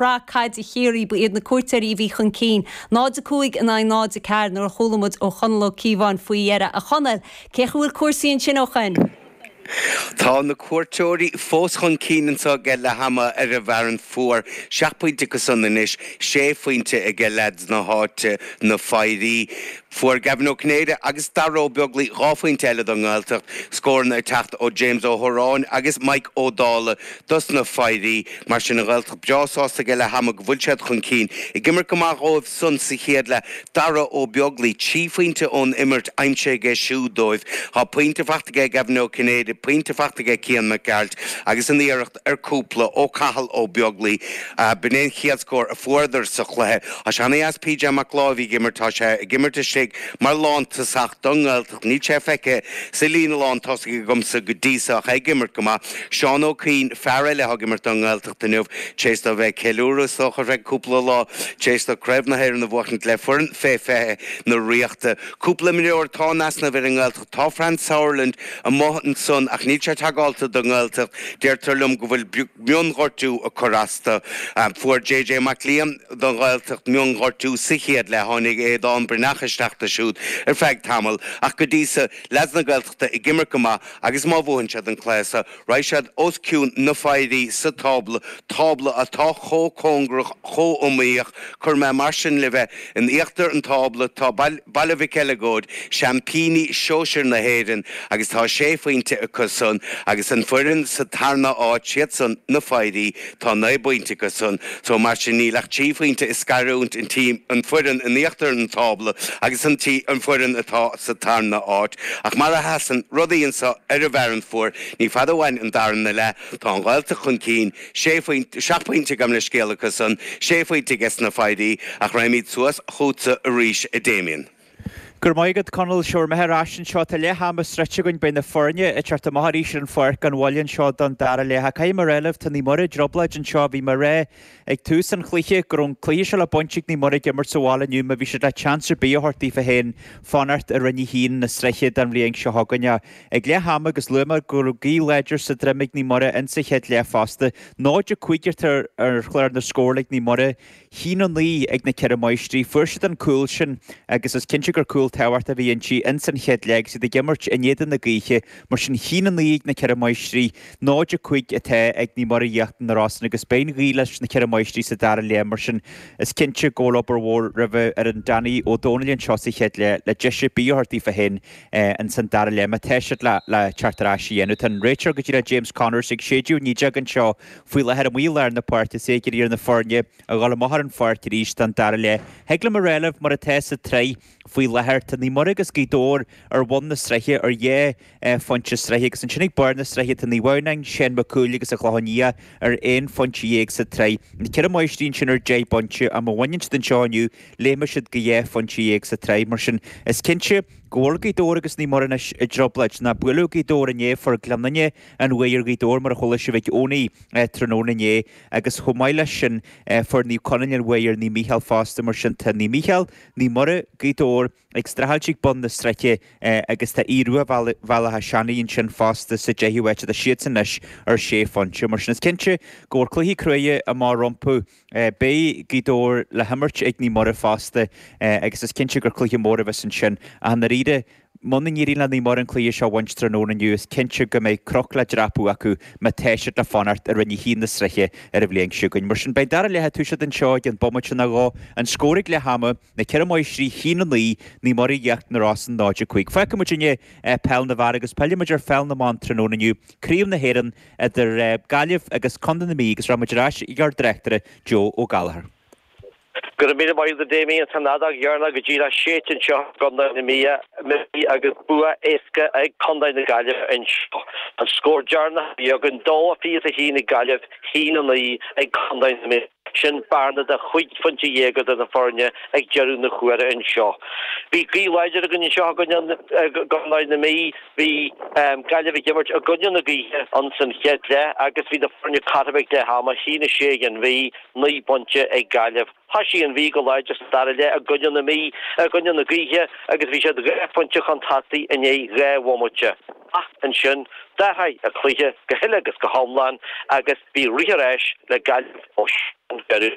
Shraith Caide Chiarraí, ba iad na cuairteoirí a bhí chun cinn, 0-5 in aghaidh 0-4 nuair a chuala muid ó Chonall Ó Cíobháin faoi dheireadh. A Chonaill, cén chaoi a bhfuil cúrsaí ansin ó shoin? Tá na cuairteoirí fós chun cinn anseo ag leath ama ar an bhFearann Fuar. Seacht bpointe acu san anois, sé phointe ag leaids na háite, na Foidhrí. Fuair Gavin Ó Cinnéide agus Dara Ó Beaglaoi 2 phointe eile don nGaeltacht, scóranna ag teacht ó James Ó hOráin agus Mike Ó Dálaigh dos na Foidhrí. Mar sin an Ghaeltacht breá sásta ag leath ama go bhfuil siad chun cinn. Ag imirt go maith dhóibh san sa chéad leath, Dara Ó Beaglaoi, 3 phointe ón imirt aimsithe aige siúd dóibh. Tá pointe fachta aige Gavin Ó Cinnéide, pointe fachta aige Cian Mac Gearailt agus an iarracht ar cúpla ó Cathal Ó Beaglaoi. B'in é an chéad scór a fuaireadar sa chluiche. Tá sé ana-dheas PJ Mac Láimh ag imirt. Tá sé ag imirt istigh mar lántosach don nGaeltacht. Níl sé feicthe sa líne lántosaigh agamsa go dtí so ach é ag imirt go maith. Seán Ó Cuinn, fear eile atá ag imirt don nGaeltacht inniu, tar éis dó bheith ag ceiliúradh is dócha ar feadh cúpla lá tar éis dó Craobh na hÉireann a bhuachaint le foireann fé 20 na Ríochta. Cúpla imreoir atá in easnamh ar an nGaeltacht. Tá Fran Sauerland amuigh ansan ach níl sé tagáilte don nGaeltacht. Deirtear liom go bhfuil mionghortú ag cur as do. Fuair JJ Mac Liam don Ghaeltacht mionghortú sa chéad leath. Tháinig Aodán Breathnach isteach do siúd ar feadh tamaill ach go dtí so, leaids na Gaeltachta ag imirt go maith agus má bhuann siad an cluiche so, Raghaidh siad os cionn na Foidhrí sa tábla, tábla atá chomh cóngarach, chomh iomaíoch. Cuirfidh mé mar sin libh é, in íochtar an tábla tá Baile Mhic Eileagóid, seaimpíní sóisir na hÉireann, agus tá sé phointe acu san, agus an foireann sa tarna áit, siad san, na Foidhrí, tá 9 bpointe acu san. So mar sin níl ach 3 phointe ag scarúint an team, an foireann in íochtar an tábla agus an tí, an foireann atá sa tarna áit. Ach mar a sheasann rudaí anseo ar an bhFearann Fuar, ní fada uainn an darna leath, tá an Ghaeltacht chun cinn, sé phointe, seacht bpointe gabh mo leithscéal acu san, sé phointe ages na Foidhrí, ach raghaimid suas chugatsa arís a Damien. Go raibh maith agat, Conall. Seo mé ar ais anseo. Tá leath ama sroichte againn. Beidh na foirne ag teacht amach arís ar an pháirc gan mhoill anseo don dara leath. Ach caithfidh mé a rá libh, tá Naomh Muire i dtrioblóid anseo. Bhí mé ag rá ag tús an chluiche go raibh an cluiche seo le baint ag Naomh Muire ag imirt sa bhaile inniu má bhí siad le seans ar bith a thabhairt daofa féin fanacht i Roinn 1 na sraithe don bhliain seo chugainn. Ach ag leath ama agus luaigh mé go raibh gaoth láidir sa droim ag Naomh Muire insa chéad leath fosta. 0-5 atá ar chlár na scór ag Naomh Muire. 1-9 ag na Ceithre Máistrí. Fuair siad an cúl sin agus is cinnte gur cúl tábhachtach a bhí inti ins an chéad leath agus iad ag imirt in éadan na gaoithe. Mar sin 1-9 ag na Ceithre Máistrí, 0-5 atá ag Naomh Muire Íochtar na Rosann agus beidh an ghaoth leis na Ceithre Máistrí sa dara leath. Mar sin is cinnte go bhfuil obair mhór roimhe fhoireann Danny Ó Dónaill anseo sa chéad leath le deis ar bith a thabhairt daofa féin ins an dara leath má tá siad le le teacht ar ais a dhéanamh. Tá an réiteoir go dtí le James Connors ag séideadh an fhídeog anseo Faoi láthair amuigh i lár na páirce is é ag iarraidh ar na foirne a dhul amach ar an pháirc arís don dara leath. Thig liom a rá libh mar atá sa tsraith faoi láthair, tá Naomh Muire agus Gaoth Dobhair ar bhun na sraithe ar dhá phointe sraithe agus ansin ag barr na sraithe tá Naomh Adhamhnáin, Seán Mac Cumhaill agus an Clochán Liath ar aon phointe dhéag sa tsraith. Na Ceithre Máistrí ansin ar 10 bpointe ach má bhaineann siad anseo inniu léimfidh siad go dhá phointe dhéag sa tsraith. Mar sin is cinnte go bhfuil Gaoth Dobhair agus Naomh Muire anois i dtrioblóid. Ná buaileadh Gaoth Dobhair inné, fuair Gleann Fhinne an bhuaidh ar Ghaoth Dobhair mar a chuala sibh ag Eoiní tráthnóna inné agus chomh maith leis sin fuair Naomh Conaill an bhuaidh ar Naomh Mícheál fosta mar sin tá Naomh Mícheál, Naomh Muire, Gaoth Dobhair ag streachailt ag bun na sraithe agus tá Aodh Rua Bhaile Átha Seanaidh ansin fosta sa deichiú háit tá siadsan anois ar sé phointe mar sin is cinnte go bhfuil cluichí cruaidhe amach rompu. Beidh Gaoth Dobhair le himirt ag Naomh Muire fosta agus is cinnte gur cluiche mór a bheas ansin ach i ndáiríre muna n-éiríonn le Naomh Muire an cluiche seo a bhaint tráthnóna inniu is cinnte go mbeidh cnoc le dreapadh acu má tá siad le fanacht i Roinn 1 na sraithe ar an bhliain seo chugainn. Mar sin beidh an dara leath ag toiseacht anseo i gceann bomaite nó dhó. An scór ag leath ama, Na Ceithre Máistrí 1-9, Naomh Muire Íochtar na Rosann 0-5. Fágfaidh muid inniu peil na bhfear agus pillfidh muid ar pheil na mban tráthnóna inniu, Craobh na hÉireann idir Gaillimh agus Contae na Mí agus rachaidh muid ar ais ag ár dtráchtaire Joe Ó Gallchóir. Go raibh míle maith agat a Damien. Tá an fheadóg dheireanach go díreach séidte anseo i gContae na Mí agus bua éasca ag Contae na Gaillimhe anseo. An scór deireanach a bhí againn, 2-21 ag Gaillimh, 1-9 ag Contae na Mí. Sin bearna de chúig phointe dhéag idir na foirne ag deireadh na huaire anseo. Bhí gaoth láidir againn anseo i gContae na Mí. Bhí Gaillimh ag imirt i gcoinne na gaoithe ins an chéad leath agus bhí na foirne cothrom ag leath ama, 1-6 ag an Mhí, 9 bpointe ag Gaillimh. Thoisigh an Mhí go láidir sa dara leath i gcoinne na Mí, i gcoinne na gaoithe agus bhí siad 2 phointe chun tosaigh i ndiaidh 2 bhomaite. Ach ansin, d'athraigh an cluiche go huile agus go hiomlán agus bhí rith ar ais le Gaillimh ó sin go deireadh.